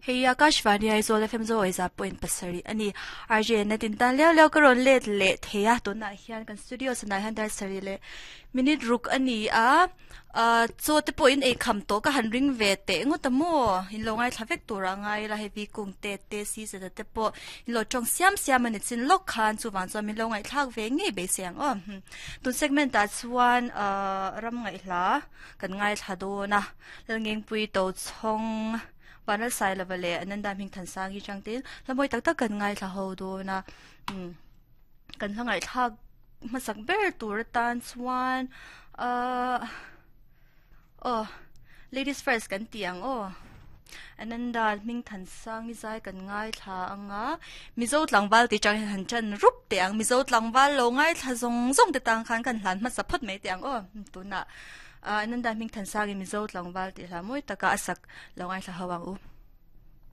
Hei Akashvani Aizawl FM zo aiza point pasarih a ni. RJ na tin tan leo leo ka rawn let leh thei a tunah hian kan studio sanah hian dar sarih leh minute ruk a ni a chaw te pawh in ei kham tawh ka han ring ve teh ngawt a maw in lo ngaithla vek tur a ngai ila hei kung te te si zeta te pawh in lo tawng siam siam a ni chin lawk khan chuvang chuan min lo ngaihthlak ve ngei beisei ang aw tun segment ah chuan ram ngaihhla kan ngaithla dawn a Lalngengpui Tochhawng Vanlalsailova leh Ananda Hmingthansangi changte hla mawi tak tak kan ngaithla ho dawn a kan hla ngaihthlak hmasak ber tur atan chuan ahh aw ladies first kan tih ang aw Ananda Hmingthansangi zai kan ngaithla ang a Mizo tlangval tih chang hian han ṭan rup teh ang Mizo tlangval lo ngaithla zawng zawng te tang khan kan hlan hmasa phawt mai teh ang aw tunah. Ananda Hmingthansangin Mizo tlangval tih hla mawi taka a sak lo ngaithla ho ang u.